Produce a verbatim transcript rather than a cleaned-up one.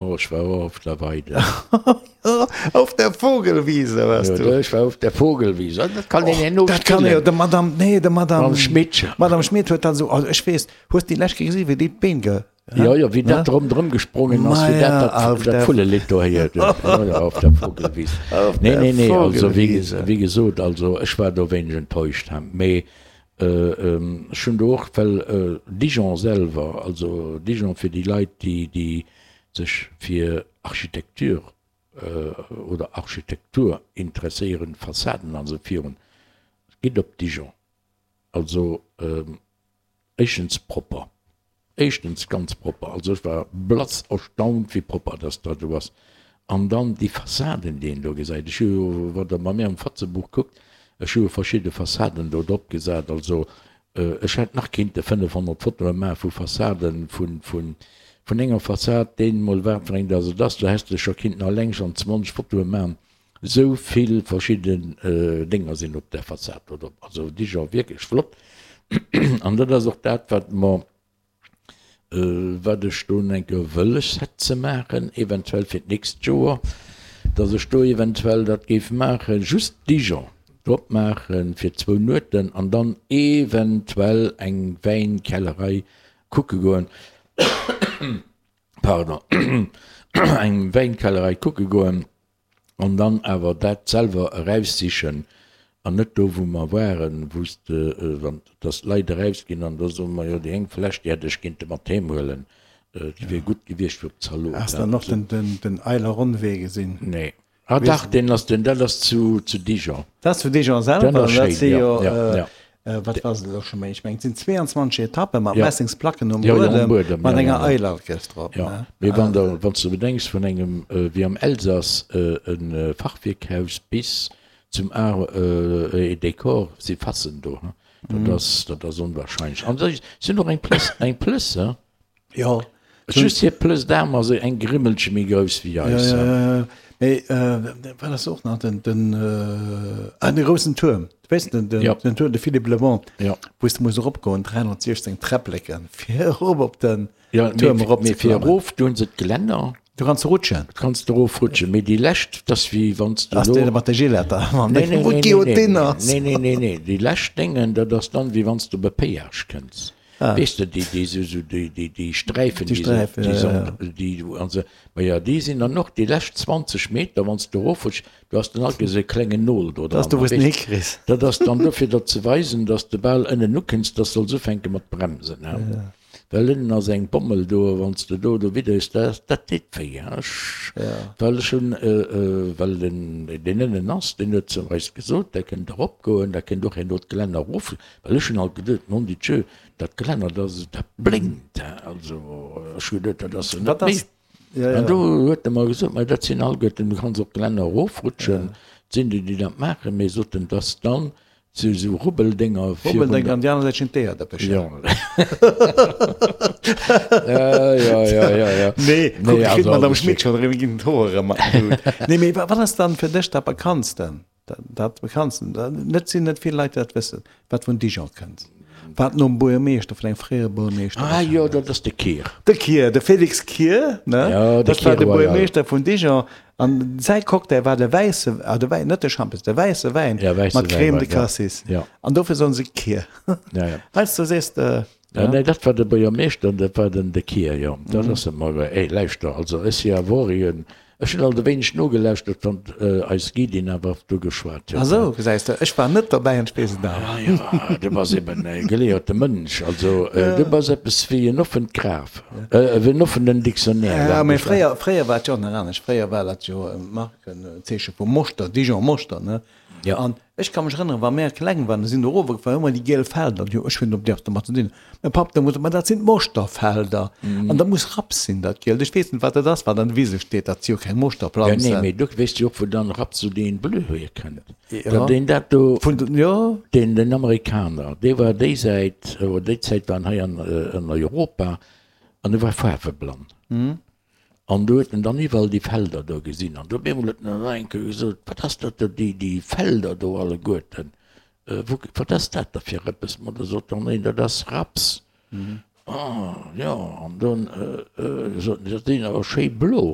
Oh, ech war och auf der Weide. Auf der Vogelwiese warst du? Jo, ech war auf der Vogelwiese. Dat kann een herno Dat kann een, de Madame, nee, de Madame. Madame Schmit. Madame Schmit huet dat esou, also ech weess, hues de déi lescht Kéier gesinn, wéi déi d'Been ge. Jo, jo, wéi dat ronderëm gesprongen ass, wéi dat dat, dat Vullelidd do héiert huet. Jo, jo, auf der Vogelwiese. Nee, nee, nee, also wéi, wéi gesot, also ech war do wéineg enttäuscht, mee ech hunn do och, well Dijon selwer, also Dijon fir déi Leit, déi, déi sech fir Architecture oder Architektur interesséieren, Fassaden an esou virun, gitt op Dijon. Also éischtens propper, éischtens ganz propper, also ech war blass erstaunt wéi propper dass dat do ass. An dann déi Fassaden déi een do gesäit, ech hu jo, wann der bei mir am Fatzebuch kuckt, ech hu jo verschidde Fassaden do drop gesat, also Ech hätt nach kinnte fënnefhonnert Fotoe maache vu Fassaden, vun enger Fassad, deen mol wat fir eng dass et ass, do häss de scho kinnten alleng schonn zwanzeg Fotoe maachen, esou vill verschidden Dénger sinn op där Fassad do drop. Also Dijon wierklech flott an dat ass och dat wat mer Wat ech do eng Kéier wëlles hätt ze maachen, eventuell fir d'nächst Joer, datt ech do eventuell dat géif maachen, just Dijon drop maache fir zwou Nueten an dann eventuell eng Wäinkellerei kucke goen, pardon, eng Wäinkellerei kucke goen an dann awer dat selwer eraussichen an net do wou mer waren, wou s de, wann, dass d'Leit erausginn an da soe mer, jo déi eng Fläsch déi hätt ech kinnte mat heem huelen, déi wier gutt gewiescht fir op d'Zalot. Has de dann och den, den, den Eileronwee gesinn? Nee. Ah dach, deen ass den, dat ass zu, zu Dijon. Dat ass zu Dijon selwer, Dat ass dat schéin, si jo, jo, ja, ja. wat war se elo scho méi, ech mengen et sinn zweeanzwanzeg Etappe mat Ja. Messingsplacken um Ja, ja, um Buedem, Buedem, mat ja, enger ja, ja. Eilerkes drop, Ja, ne? mee wann der, wann s de bedenks vun engem, wéi am Elsass, e Fachwierkhaus bis zum Art et Décor si Fassen do, hein, dat ass, dat ass onwahrscheinlech. An si sinn och eng Plëss, eng Plëss, hein. Jo. Just hir Plëss d'Aarm ass eng Grimmelche méi grouss wéi Ja, eis, ja, hein. ja, ja. Mee wat ass och nach den, den, ah, de groussen Tuerm, weess de, den, Ja. den Tuerm, de Philippe le Bon, Ja. wou s de muss eropgoen, dräihonnertsiechzéng Träppleken, fir erop op den Ja, Tuerm mee, erop mee ze fir klammen. erof, do hunn se d'Gelänner. Du kanns rutschen. Du kanns de erofrutschen, mee déi lescht, dat ass wéi wann s de Ass elo. dee mat de Giletter, wann Nee, dee nee, wou nee, nee, d'Guillotine nee, ass. nee, nee, nee, nee, déi lescht Déngen, dat ass dann, wéi wann s de op e Péage kënns. Ah. Weess de, déi, déi sou, sou, déi, déi, déi Sträifen, Déi déi se, Sträifen, déi ja, se, ja, ja. déi du, an se, ma ja, déi sinn dann och déi lescht zwanzeg Meter, wann s de erofrutschs, du has dann alt esou e klengen Nol do Dat ass dran, do, wou s de en weess de. hikriss. Dat ass dann dofir, der ze weisen, dass de bal ënnen ukënns, dass de solls ufänke mat bremsen, hein. Ja. Well ënnen ass eng Bommel do, a wann s de do do widderees, dat, dat deet wéi, hein. Ech, Ja. well ech hunn, well den, deen ënnen ass, deen huet zu eis gesot, der kënnt eropgoen, der kënnt och herno d'Gelänner erof, well ech hunn alt geduet, mon Dieu, dat Gelänner, dat ass, dat blénkt, hein. Also ech hu geduet, dat ass jo net Wat méi. ass, ja, An ja. do huet e mer gesot, ma dat sinn alleguerten, du kanns och d'Gelänner erofrutschen, et sinn déi, déi dat maachen, mee sot en, dass dann Sou sou Rubbeldénger virun Rubbeldénger der. an déi aner Säit stinn d'Eeërdëppecher. Jo. Ja, ja, ja, ja, ja. Nee, kuck, Nee, kritt also d'Madame alles Schmit schick. schonn erëm, ginn d'Hoer erëm mat den Hut. Nee, mee wat ass dann fir dech dat Bekanntsten? Dat, dat Bekanntsten, dat net sinn net vill Leit, déi dat wëssen, wat vun Dijon kënnt, wat nom Buergermeeschter, vun engem fréiere Buergermeeschter Ah jo, bekannt ass. dat ass de Kier. De Kier, de Félix Kier, ne? Ja, de Dat war Kier de Royal. Buergermeeschter vun Dijon. An säi Cocktail war de wäisse, ah de Wäin, net de Schampes, de wäisse Wäin Ja, wäisse mat Wäin Crème war, de ja. Cassis. Ja. An dofir soen se Kier. Ja, ja. Heiansdo sees de, Ja, ja. nee, dat war de Buergermeeschter, dat war den de Kier, jo. Dat ass e mer, ey, lauschter, also ech si awer och en, ech hunn alt e wéineg nogelauschtert, wann eis Guidin awer do geschwat Ah huet. sou, gesäis de, ech war net derbäi an ech weess et awer. Ah jo, du bass eben e geleeëte Mënsch, also du bass eppes wéi en offent Graf, wéi en offenen Dictionnaire, Ja, lach mee mech. fréier, fréier war et jo och nach anescht. Fréier war dat jo e Markenzeeche vu Moschter, Dijon Moschter, ne? Ja. An ech ka mech erënneren, wa mär kleng waren, sinn do erof gefuer, hu mer déi giel Felder, jo, ech hunn op déi domat ze dinn. Mäi Papp da gesot, ma dat sinn d'Moschterfelder. An dat muss Raps sinn, dat Gielt. Ech weess net, wat dat ass, wat an de Wise steet, dat si jo keng Ja, nee, Moschterplanzen. mee du weess jo och, wou dann Rhapsodie in Bleu hierkënnt. Ja. Dat deen dat do, Vun den, jo. deen, den Amerikaner, dee war déi Säit, oder déi Zäit war en hei an, an Europa an e war faarweblann. An do huet en dann iwwerall déi Felder do gesinn. An do op eemol huet en dann eng Kéier gesot, Wat ass dat do, déi, déi Felder do alleguerten, wou, wat ass dat da fir eppes? Ma da sot dann een, Dat ass Raps. Oh, jo, an dunn soten se, dat sinn awer schéi blo.